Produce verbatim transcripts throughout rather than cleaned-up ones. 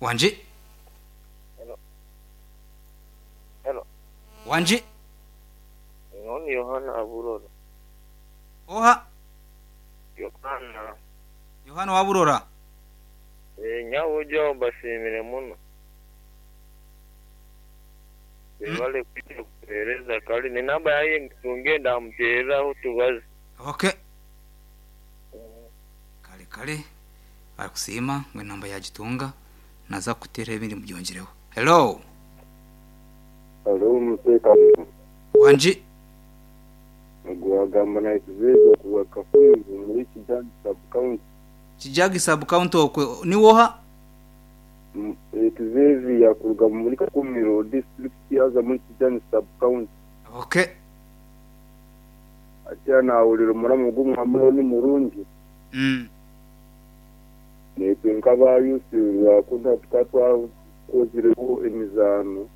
Wangi? Hello. Hello. Wangi? Ni Yohana Aburora. Oha? Yohana. Yohana Waburora. Eh, nyawo mbashimire muno. Bale kwita kuhereza kali ni namba yaye tungenda mtereraho tubaze. Okay. Kale kale barakusiima ngo enamba yagitunga naza kutera ebindi mubyongereho. Hello. Hello muteka. Wangi? Gwagamba na Xavier kuwa Kafunzi muri Kijagi sub county. Kijagi sub county okwe ni woha? Xavier yakuruga muri Kakumiro district yaza muri Kijagi sub county. Okay. Ati nawulira muramu gumwe ni murungi. Mm. Netwe nkabayusi bakunda tukatwa kozireho emizano.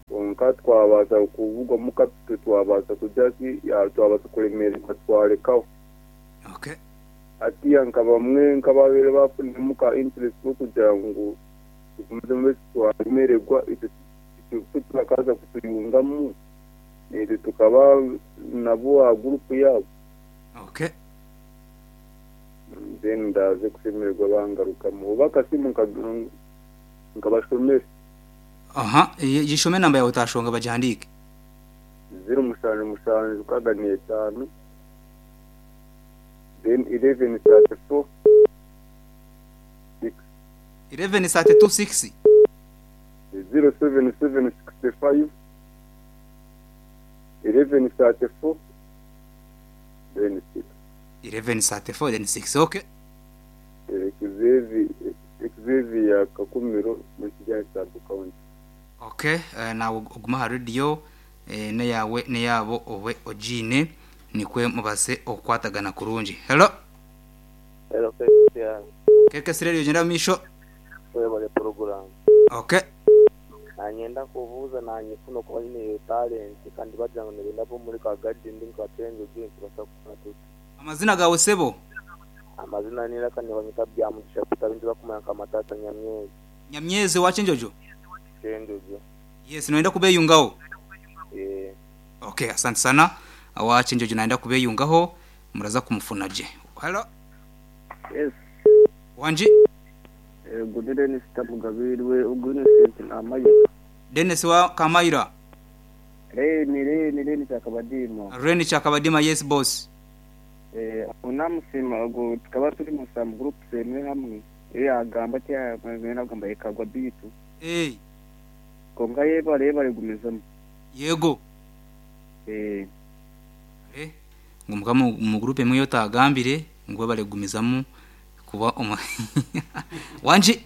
Konka twabaza kuvugwa mukatwe twabaza kujaki ya twabaza kulemererwa twarekaho. Okay. Ati nkabamwe nkababere bafune muka interest yo kugira ngo tukomeze mbe twamererwa icyo twakaza kutuyungamu netwe tukaba nabo a group yabo. Okay. Then ndaze kusemererwa bangaruka mu bakasimu nkabashomera. Aha, yishome namba yawe utashonga bajihandike. zero mushanju mushanju kaga tano then eleven thirty-four six eleven thirty-two six zero seven seven sixty-five eleven thirty-four then six eleven thirty-four then six. Okay. Xavier Xavier Kakumiro muri Kijagi sub county. Okay, uh, na oguma radio eh, ne yawe ne yabo owe ojine nikwe mubase okwatagana kurungi. Hello. Hello Christian. Keke radio jenda misho. Wewe bale program. Okay. Nanyenda kuvuza nanyifuna kuba nyine talent kandi bajanga ngenda bo muri ka garden ndi ka change ugin basa kufuna tuti. Amazina gawe sebo? Amazina nira kandi banyita bya mugisha kutabindi bakumanya kamatata Nyamyezi. Nyamyezi wa Chenjojo? Chenjojo. Yes, naenda kubeyungaho. Eh. Okay, asante sana. Awa Chenjojo naenda kubeyungaho muraza kumufunaje. Hello. Yes. Wanji? Eh, good Dennis Tabugabirwe ugune sente amaye. Dennis wa Kamaira. Reni reni reni chakabadima. Reni chakabadima, yes boss. Eh, unamusima ugo tukaba turi mu sam group semwe hamwe. Eh agamba ati agamba agamba ekagwa bitu. Eh. Konga yeba reba rigumizamo. Yego. Eh. Eh, ngumuka mu group emwe yotagambire ngo baregumizamo kuba omo. Wanji?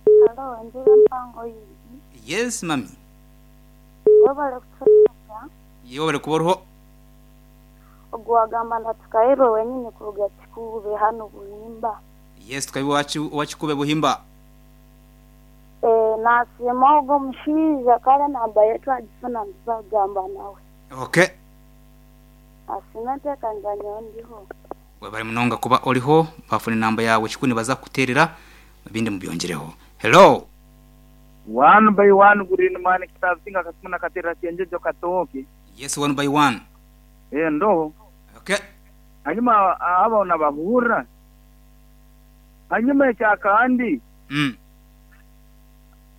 Hello, ndira mpango yi. Yes mami. Webale kutuka. Yebo bale kuborho. Ogwagamba ndatukairo wenyine kuruga Kikube hano Buhimba. Yes, tukabi wachi wachikube Buhimba. Eh, nasema ogo mushiza kale namba yetu ajifuna ndizagamba nawe. Okay. Asinate kanjanya ndiho. Webale munonga kuba oliho bafune namba yawe chikuni baza kuterera bindi mubyongereho. Hello. One by one green man kitazinga katumuna katera chenjejo katoke. Yes, one by one. Eh ndo. Okay. Hanyuma abona bahura. Hanyuma ekyakandi. Mm.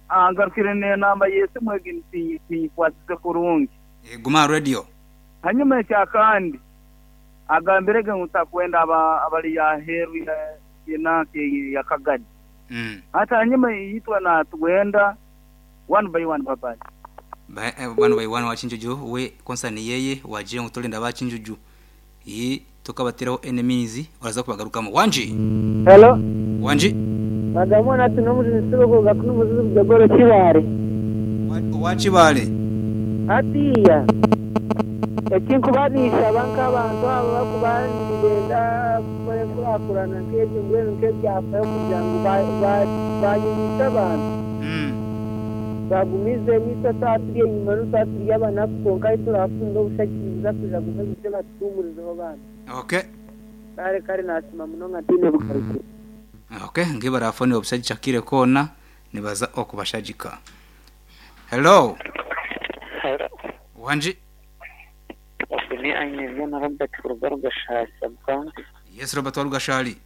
Angarukire ne namba yese mwegi nti kwatize kurungi. E, guma radio. Hanyuma ekyakandi. Agambirege ngutakwenda aba abali ya heru ya yenake ya Kagadi. Mm. Hata hanyuma yitwa na tuwenda one by one baba. Ba eh, one by one wachinjuju we concern yeye waje ngutolenda bachinjuju. Yi tukabatiraho enemies oraza kubagarukamo. Wanji. Hello. Wanji. Magamona tunomuzi nisibo gakuno muzizi kujagoro kibare. Wachibale. Atiya. Ekinkubanisha banka abantu abo bakubandenda kurakurana nk'ebyo mbwenu nk'ebyafayo kugira ngu bayimisa abantu. Mm. Bagumize emito taturi enyuma n'utaturi abanaku konka turafunda obushakiriza kuja gume bije batuhumurizeho bana. Okay. Kare kare nasima munonga ntine bugarukire. Okay, ngi barafone obushagika kire kona nibaza okubashagika. Hello. Wanji. Ni aine byona Robert kuruga Rugashari sub-county. Yes Robert Warugashari.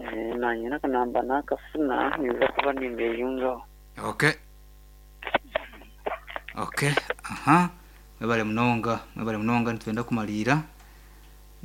Eh, nanye nakanamba nakafuna niza kuba nimbeyungaho. Okay. Okay. Aha. Mwebale munonga, mwebale munonga nitwenda kumalira.